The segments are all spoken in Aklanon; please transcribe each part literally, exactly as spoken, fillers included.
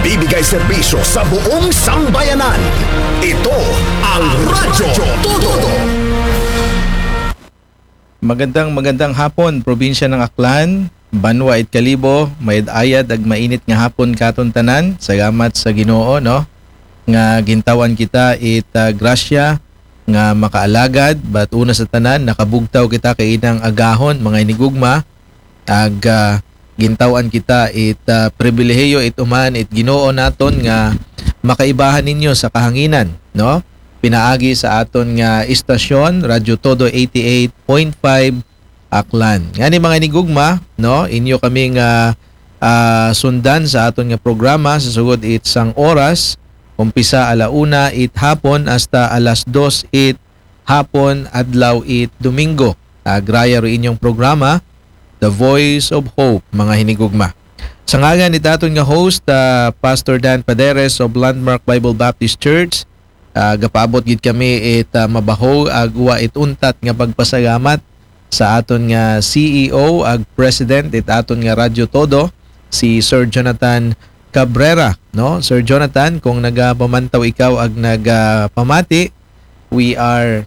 Nagbibigay serbisyo sa buong sambayanan. Ito ang Radyo Todo. Magandang, magandang hapon, probinsya ng Aklan, Banwa it Kalibo, mayad-ayad ag mainit nga hapon katon tanan. Salamat sa Ginoo, no, nga gintawan kita it ah, grasya nga makaalagad, but una sa tanan, nakabugtaw kita kay inang agahon, mga hinigugma, ag ah, gintawan kita it ah, pribilehiyo, it uman, it Ginoo naton nga makaibahan ninyo sa kahanginan, no? Pinaagi sa aton nga istasyon, Radyo Todo eighty-eight point five Aklan. Ngani, mga hinigugma, no, inyo kami nga ah, sundan sa aton nga programa sa sugod it sang oras, umpisa ala una it hapon hasta alas dos it hapon, adlaw it Domingo. Agraya ro inyong programa, The Voice of Hope, mga hinigugma. Sa ngalan it aton nga host, ah, Pastor Dan Paderes of Landmark Bible Baptist Church, ah, gapaabot gid kami it ah, mabaho ag wa it untat nga pagpasalamat sa aton nga C E O ag President it aton nga Radyo Todo, si Sir Jonathan Cabrera, no? Sir Jonathan, kung nagapamantaw ikaw ag nagapamati, we are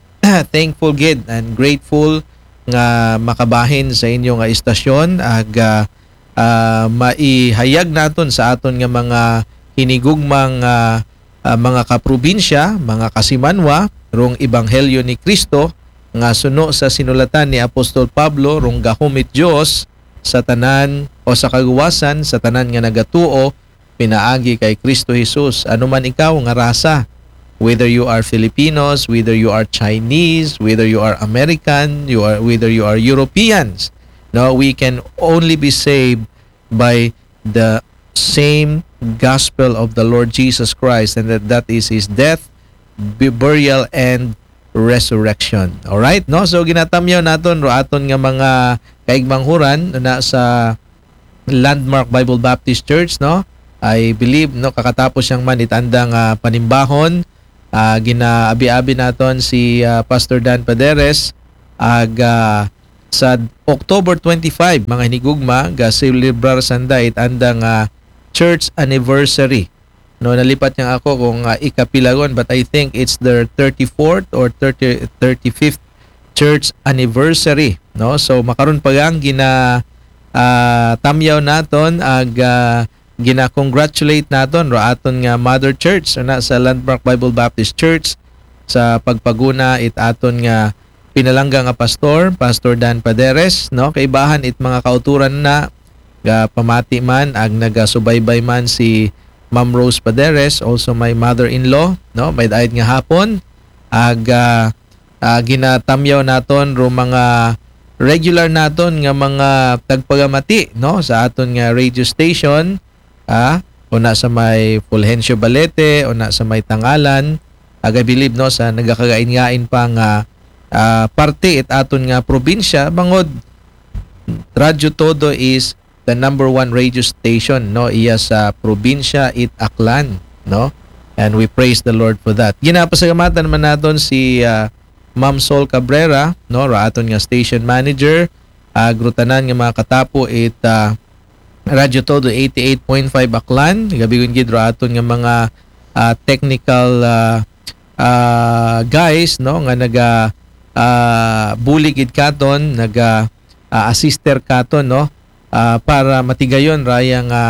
thankful gid and grateful nga makabahin sa inyo nga istasyon ag ah, ah, maihayag naton sa aton nga mga hinigugmang ah, ah, mga kaprobinsya, mga kasimanwa, rong ebanghelyo ni Kristo nga suno sa sinulatan ni Apostol Pablo, rong gahom it Dios sa tanan o sa kaluwasan sa tanan nga nagatuo pinaagi kay Kristo Jesus. Ano man ikaw nga rasa, whether you are Filipinos, whether you are Chinese, whether you are American, you are whether you are Europeans, no, we can only be saved by the same gospel of the Lord Jesus Christ, and that, that is his death, bu- burial, and resurrection. Alright, no? So ginatamyaw naton ro aton nga mga kaigmanghuran na sa Landmark Bible Baptist Church, no? I believe, no, kakatapos yang man it andang ah, panimbahon, ah, ginaabi-abi naton si ah, Pastor Dan Paderes ag ah, sa October twenty-five, mga hinigugma, ga celebrar sanda it andang ah, church anniversary. No, nalipat niya ako kung ah, ikapilagon, but I think it's their thirty-fourth or thirty, thirty-fifth church anniversary, no? So makaron pa lang gina ah, tamyaw naton ag ah, gina-congratulate naton ro aton nga mother church na sa Landmark Bible Baptist Church sa pagpaguna it aton nga pinalangga nga pastor, Pastor Dan Paderes, no? Kaibahan it mga kauturan na ga pamati man ag nagasubaybay man si Ma'am Rose Paderes, also my mother-in-law, no? May daid nga hapon ag ah, ah, ginatamyaw naton ro mga regular naton nga mga tagpagamati, no, sa aton nga radio station, ah, una sa may Fulgencio Balete, una sa may Tangalan, ag I believe, no, sa nagakagain-ngain pa nga ah, parte it aton nga probinsya, bangod Radyo Todo is the number one radio station, no, iya sa probinsya it Aklan, no? And we praise the Lord for that. Ginapasalamatan man naton si ah, Ma'am Sol Cabrera, no, ra aton nga station manager, ag ro tanan nga mga katapo it ah, Radyo Todo eighty-eight point five Aklan, gabigon gid ro aton nga mga ah, technical ah, ah, guys, no, nga naga ah, bulig gid katon, naga ah, assister katon, no, ah, para matigayon raya nga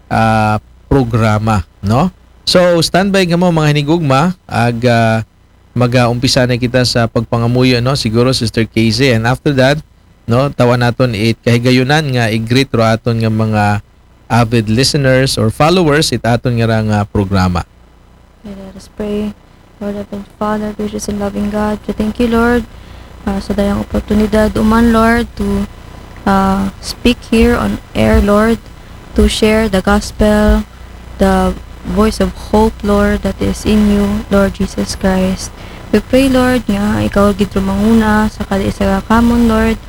ah, programa, no. So standby kamo, mga hinigugma, ag ah, magaumpisa na kita sa pagpangamuyo, no, siguro, Sister Casey, and after that, no, tawan naton it kahigayunan nga i-greet ro aton nga mga avid listeners or followers it aton nga ra nga programa. Okay, let us pray. Lord, Heavenly Father, gracious and loving God, we thank you, Lord, ah, sa dayang oportunidad uman, Lord, to ah, speak here on air, Lord, to share the gospel, the voice of hope, Lord, that is in you, Lord Jesus Christ. We pray, Lord, nga ikaw gid ro manguna sa kada isa ka kamon, Lord,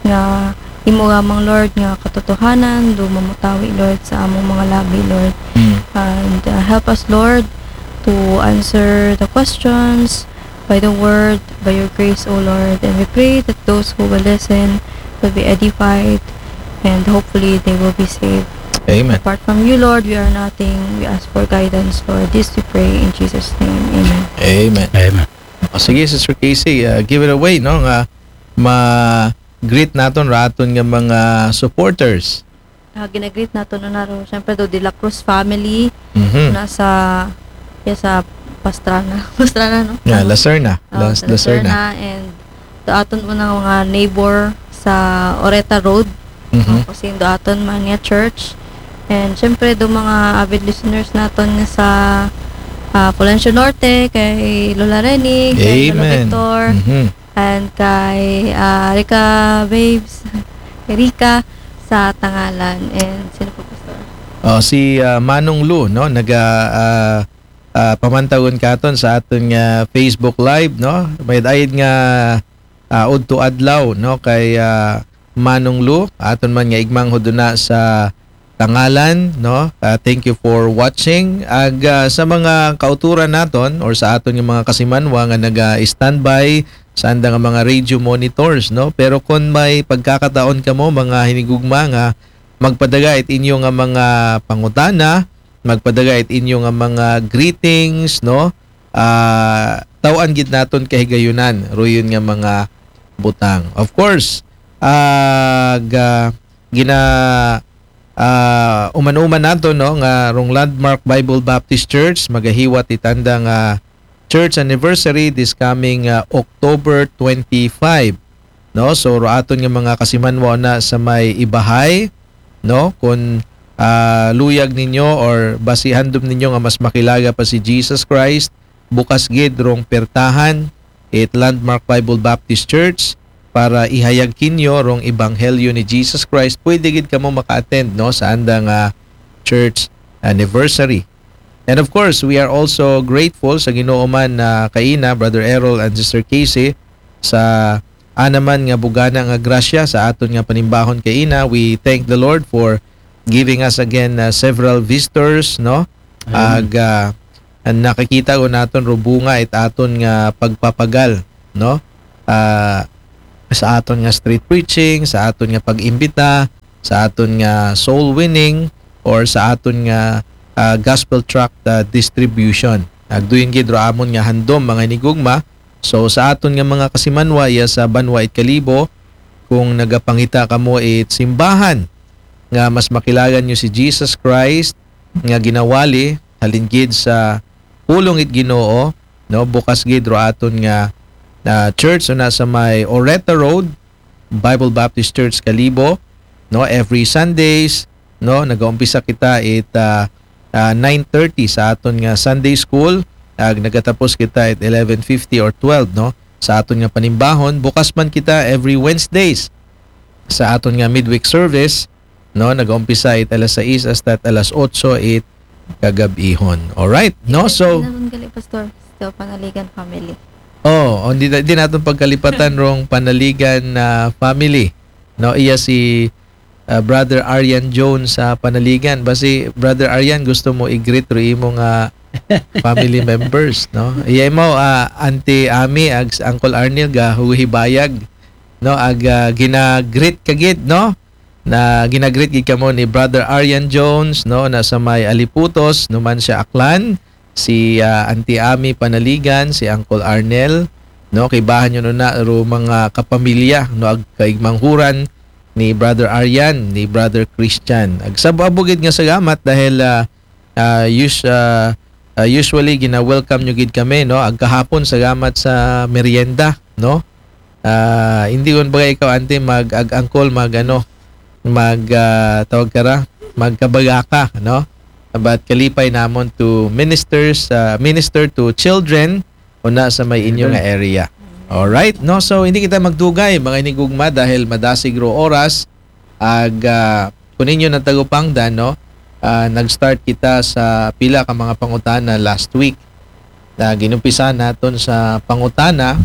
nga imo lamang, Lord, nga katotohanan do mamutawi, Lord, sa among mga labi, Lord. And uh, help us, Lord, to answer the questions by the word, by your grace, O Lord. And we pray that those who will listen will be edified and hopefully they will be saved. Amen. Apart from you, Lord, we are nothing. We ask for guidance, Lord. This we pray in Jesus' name. Amen. Amen. Amen. O sige, Sister Casey, uh, give it away, no? Nga ma-greet naton ra aton nga mga supporters. Ah, ginagreet naton na ro, syempre, do De La Cruz family, Mhm. na sa, ya sa Pastrana. Pastrana, no? Yeah, Ano? Lacerna. Oh, Las- sa Lacerna. Lacerna. And do aton mo na mga neighbor sa Oreta Road. Mhm. Tapos yung do aton man nga church. And syempre, do mga avid listeners naton nga sa ah, Fulgencio Norte, kay Lola Reni, kay Lola Amen. Victor, Mhm. and kay ah, Rica Babes, kay Rica sa Tangalan. And sino po, Pastor? Oh, si ah, Manong Lu, no, naga ah, ah, pamantagon katon sa aton nga Facebook Live, no? May ayad nga ah, udto adlaw, no, kay ah, Manong Lu, aton man nga igmang huduna sa Tangalan, no? Ah, thank you for watching. Ag ah, sa mga kauturan naton or sa aton nga mga kasimanwa nga naga-standby sa anda nga mga radio monitors, no? Pero kung may pagkakataon kamo, mga hinigugma, nga magpadaga it inyo nga mga pangutana, magpadaga it inyo nga mga greetings, no? Ah, taw-an gid naton kahigayunan ruyon nga mga butang. Of course, ah, ga, gina ah, uman-uman nato, no, nga rong Landmark Bible Baptist Church magahiwat it anda nga church anniversary this coming ah, October twenty-five, no? So ro aton nga mga kasimanwa na sa may Ibahay, no, kun ah, luyag ninyo or basi handom ninyo nga mas makilaga pa si Jesus Christ, bukas gid rong pertahan it Landmark Bible Baptist Church para ihayag kinyo rong ebanghelyo ni Jesus Christ. Pwede gid kamo maka-attend, no, sa anda nga church anniversary. And of course, we are also grateful sa Ginoo man na kaina, Brother Errol and Sister Casey, sa ana man nga bugana nga grasya sa aton nga panimbahon kaina. We thank the Lord for giving us again uh, several visitors, no? Amen. Ag ah, ang nakakita ko naton ro bunga it aton nga pagpapagal, no? Ah, sa aton nga street preaching, sa aton nga pag-imbita, sa aton nga soul winning, or sa aton nga ah, gospel tract ah, distribution. Agduyon gid ro amon nga handom, mga hinigugma. So sa aton nga mga kasimanwa iya sa banwa it Kalibo, kung nagapangita kamo it simbahan nga mas makilagan nyo si Jesus Christ nga ginawali halin gid sa pulong it Ginoo, no, bukas gid ro aton nga ah, church una sa may Oreta Road, Bible Baptist Church Kalibo, no, every Sundays, no, nagaumpisa kita it ah, ah, nine thirty sa aton nga Sunday school, ag nagatapos kita at eleven fifty or twelve, no, sa aton nga panimbahon. Bukas man kita every Wednesdays sa aton nga midweek service, no, nagaumpisa it alas sais hasta at alas otso it kagabihon. Alright, no? So, Naman gali, Pastor, still Panaligan family. Oh, oh, di, di naton pagkalipatan rong Panaligan na family. No, iya si ah, Brother Arian Jones sa Panaligan. Basi, Brother Arian, gusto mo i-greet ro imo nga family members, no? Iya mo, ah, Auntie Ami, ag Uncle Arnel, gahuhibayag, no? Ag ah, ginagreet ka gid, no? Na ginagreet gid kamo ni Brother Arian Jones, no? Na sa may Aliputos, no man siya Aklan, si ah, Auntie Ami Panaligan, si Uncle Arnel, no? Kay bahan yun na ro mga kapamilya, no? Ag kaigmanghuran ni Brother Arian, ni Brother Christian. Ag sab-, abo gid nga salamat dahil ah, ah, us- ah, ah, usually gina-welcome nyo gid kami, no? Ag kahapon salamat sa merienda, no? Ah, hindi ko ba ikaw, Auntie, mag ag angkol, mag ano, mag ah, tawag ka ra, magkabagaka, no? But kalipay namon to ministers, ah, minister to children una sa may inyo nga area. Alright, no? So hindi kita magdugay, mga hinigugma, dahil madasig ro oras. Ag ah, kun inyo natagupangdan, no? Ah, nag-start kita sa pila ka mga pangutana last week. Na ginumpisa naton sa pangutana,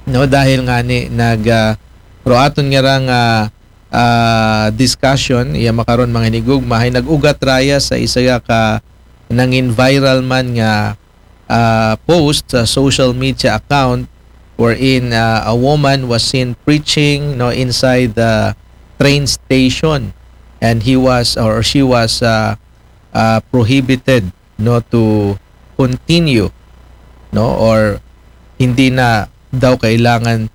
no, dahil nga ni nag ah, ro aton nga rang ah, ah, discussion iya makaron, mga hinigugma, hay nag-ugat raya sa isa ka nangin viral man nga ah, post sa social media account wherein ah, a woman was seen preaching, no, inside the train station. and he was or she was uh, uh, prohibited, no, to continue, no, or hindi na daw kailangan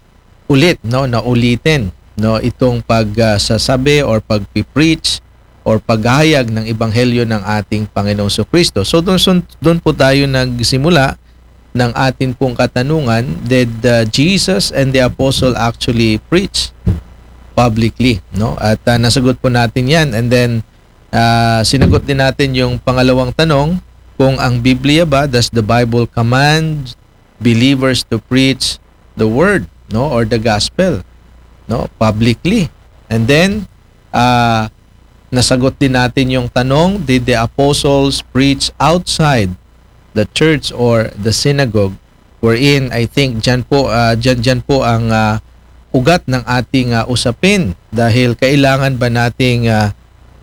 ulit, no, na ulitin, no, itong pagsasabi or pagpi-preach or paghahayag ng ebanghelyo ng ating Panginoong Kristo. So doon sun- doon po tayo nagsimula ng atin pong katanungan, did uh, Jesus and the apostle actually preach publicly, no? At uh, nasagot po natin 'yan, and then uh, sinagot din natin yung pangalawang tanong, kung ang Biblia ba, does the Bible command believers to preach the word, no, or the gospel, no, publicly? And then uh, nasagot din natin yung tanong, did the apostles preach outside the church or the synagogue? Wherein I think diyan po uh, diyan, diyan po ang uh, ugat ng ating uh, usapin, dahil kailangan ba nating uh,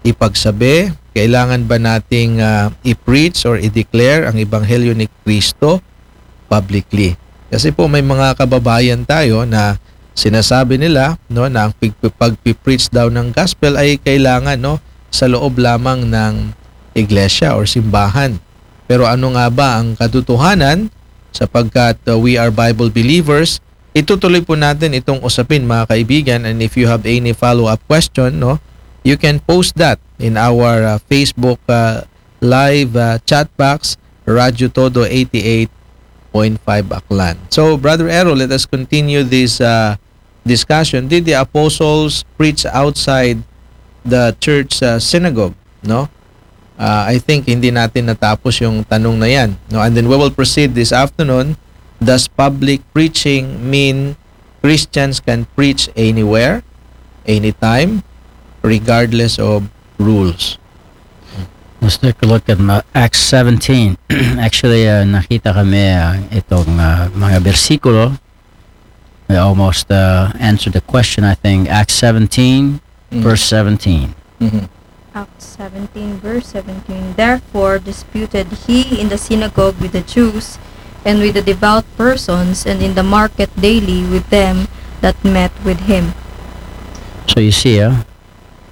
ipagsabi, kailangan ba nating uh, i-preach or i-declare ang ebanghelyo ni Kristo publicly? Kasi po may mga kababayan tayo na sinasabi nila, no, na ang pag- pagpi-preach daw ng gospel ay kailangan, no, sa loob lamang ng iglesia or simbahan. Pero ano nga ba ang katotohanan? Sapagkat uh, we are Bible believers, itutuloy po natin itong usapin, mga kaibigan, and if you have any follow-up question, no, you can post that in our uh, Facebook uh, live uh, chat box, Radyo Todo eighty-eight point five Aklan. So, Brother Errol, let us continue this uh, discussion. Did the apostles preach outside the church uh, synagogue? No? Uh, I think hindi natin natapos yung tanong na 'yan, no? And then we will proceed this afternoon. Does public preaching mean Christians can preach anywhere, anytime, regardless of rules? Let's take a look at uh, Acts seventeen. Actually, uh, nakita kami uh, itong uh, mga bersikulo. We almost uh, answered the question, I think. Acts seventeen, Mm. verse seventeen. Mhm. Acts seventeen, verse seventeen. Therefore disputed he in the synagogue with the Jews, and with the devout persons, and in the market daily with them that met with him. So you see, uh,